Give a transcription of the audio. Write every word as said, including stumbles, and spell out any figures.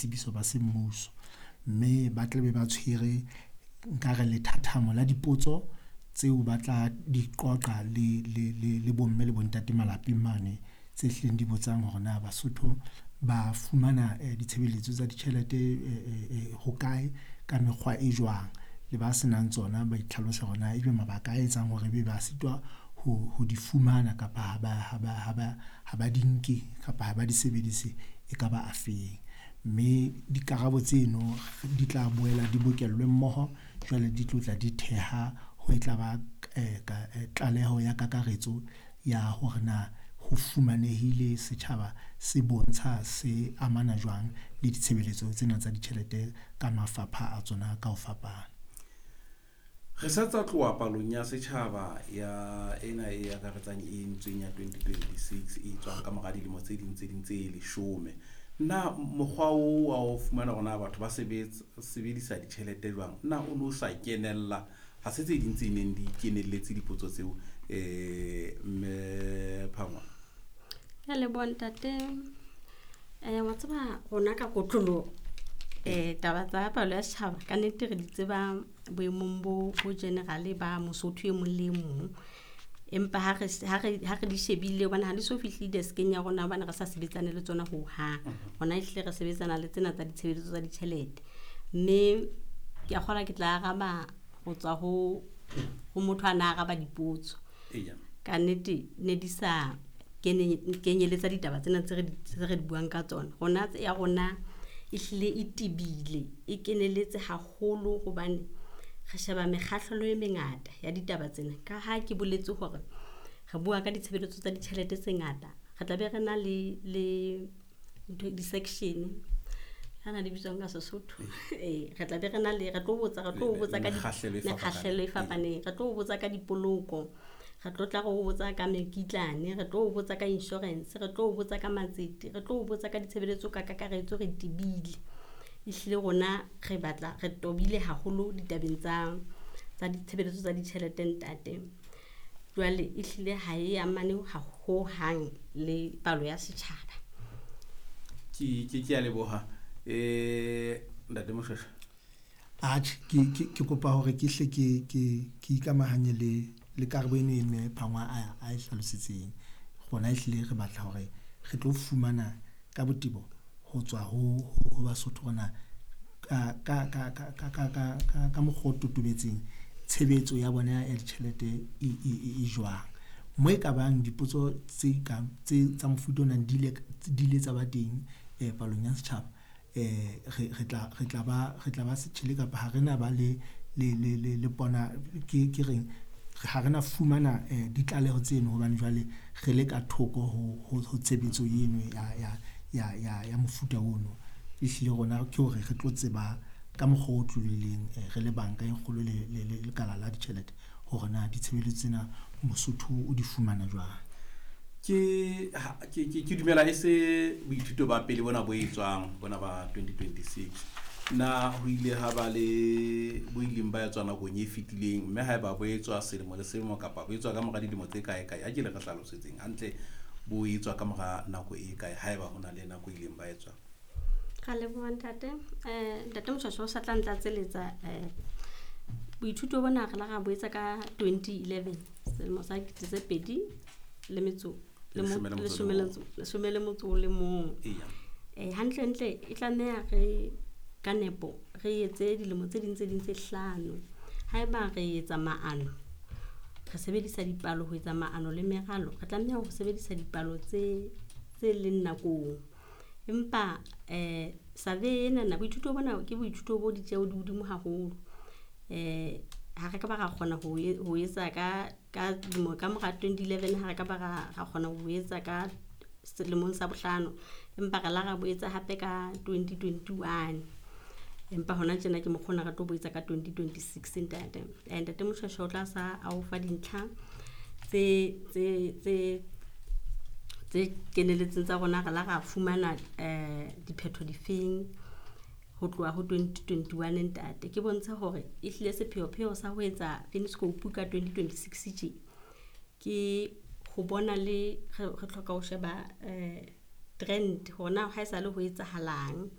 boitsebiso ba semmuso. Mme ba tlabe ba tshwere nkare lethathamo la dipotso tseo ba tla di qoqa le le le le bomme le bontate malapeng mane, tse hlileng di botsang hore na Basotho ba fumana ditshebeletso tsa ditjhelete hokae, ka mekgwa e jwang. Le ba senang tsona ba itlhalose hore na ebe mabaka a etsang hore ebe ba sitwa ho di fumana kapa ha ba ha ba ha ba ha ba di nke kapa ha ba di sebedise e ka ba afeng. Mme dikarabo tseno di tla boela di bokellwe mmoho, jwale di tlotla di theha ho e tla ba tlaleho ya kakaretso ya hore na ho fumanehile setjhaba se bontsha se amana jwang le ditshebeletso tsena tsa ditjhelete ka mafapha a tsona ka ho fapana. Re sa tsa tloha palong ya setjhaba ya ena e akaretsang e entsweng ya twenty twenty-six e tswang ka mora dilemo tse ding tse ding tse leshome. Na mokgwa oo wa ho fumana hore na batho ba sebedisa ditjhelete jwang, na o no sa kenella? Ha se tse ding tse neng di kenelletse dipotso tseo, eh mme Phangwa? Ke a leboha ntate. Eh, wa tseba rona ka kotloloho, eh, taba tsa palo ya setjhaba ka nnete re di tseba boemong bo, bo general ba Mosotho e mong le e mong. Empa ha re, ha re, ha re di shebile hobane ha di so fihle deskeng ya rona hobane re sa sebetsane le tsona hohang. Hona ehlile re sebetsana le tsena tsa ditshebeletso tsa ditjhelete. Mme ke a kgolwa ke tla araba ho tswa ho, ho motho a na araba dipotso. Eya. Ka nnete ne di sa kene-, kenyeletsa ditaba tsena tse re di, tse re di buang ka tsona. Rona tse ya rona ehlile e tebile, e keneletse haholo hobane re sheba mekgahlelo e mengata ya ditaba tsena. Ka ha ke boletse hore re bua ka ditshebeletso tsa ditjhelete tse ngata, re tla be re na le, le ntho, di-section. Ha na di bitswang ka Sesotho? Ee, re tla be re na le, re tlo botsa, re tlo botsa ka di- Mekgahlelo e fapaneng. mekgahlelo e fapaneng. Re tlo botsa ka dipoloko, re tlo tla re o botsa ka mekitlane, re tlo botsa ka insurance, re tlo botsa ka matsete, re tlo botsa ka ditshebeletso ka kakaretso, re tebile. Ehlile rona re batla, re tobile haholo ditabeng tsa, tsa ditshebeletso tsa ditjhelete ntate. Jwale ehlile ha e amane ha hohang le palo ya setjhaba. Ke, ke, ke a leboha. Eh, Ntate Moshweshwe. Atjhe, ke, ke, ke kopa hore ke hle ke, ke, ke ikamahanye le, le karabo eno e mme Phangwa a, a e hlalositseng. Rona ehlile re batla hore re tlo fumana ka botebo ho tswa ho, ho Basotho rona ka, ka, ka, ka, ka, ka, ka, ka, ka mokgwa o totobetseng tshebetso ya bona ya ditjhelete e, e, e, e jwang. Mo e ka bang dipotso tse ka, tse tsa mofuta ona di ile, di ile tsa ba teng, eh, palong ya setjhaba. Eh, re, re tla, re tla ba, re tla ba setjhele kapa ha re na ba le, le, le, le, le pona, ke, ke reng, ha re na fumana, eh, ditlaleho tseno hobane jwale re le ka thoko ho, ho, ho tshebetso eno ya, ya, ya, ya, ya mofuta ono. Ehlile rona ke hore re tlo tseba ka mokgwa o tlohileng, eh, re le banka e kgolo le, le, le lekala la ditjhelete hore na ditshebeletso tsena Mosotho o di fumana jwang. Ke, ha, ke, ke, ke dumela e se boithuto ba pele bona bo etswang, bona ba twenty twenty-six. Na ho ile ha ba le bo ileng ba etswa nakong e fetileng, mme haeba bo etswa selemo le selemo kapa bo etswa ka mora dilemo tse kae kae, a ke le re hlalosetseng hantle bo etswa ka mora nako e kae haeba ho na le nako e ileng ba etswa. Ka leboha ntate. Eh, Ntate Moshweshwe o sa tla ntlatseletsa, eh, boithuto bona re la ra bo etsa ka twenty eleven, selemo sa dikete tse pedi le metso, le mo-, Leshome le motso o le leshome le mong. metso, leshome le motso o le mong. Eya. Eh, hantlentle e tlameha re ka nepo re etse dilemo tse ding tse ding tse hlano. Haeba re etsa maano, re sebedisa dipalo ho etsa maano le meralo, re tlameha ho sebedisa dipalo tse, tse leng nakong. Empa, eh, survey ena na, boithuto bona ke boithuto bo ditjeo di hodimo haholo. Eh, ha re ka ba ra kgona ho e-, ho etsa ka, ka dilemo, ka mora twenty eleven, ha re ka ba ra, ra kgona ho etsa ka selemong sa bohlano, empa re la ra bo etsa hape ka twenty twenty-one. Empa hona tjena ke mokgwa ona re tlo bo etsa ka twenty twenty-six ntate. Eh, Ntate Moshweshwe o tla sa a o fa dintlha tse, tse, tse, tse keneletseng tsa rona, re la ra fumana, eh, diphetho difeng ho tloha ho twenty twenty-one ntate. Ke bontshe hore ehlile sepheopheo sa ho etsa Finscope ka twenty twenty-six tje, ke ho bona le re, re hloka ho sheba, eh, trend hore na ha esale ho etsahalang.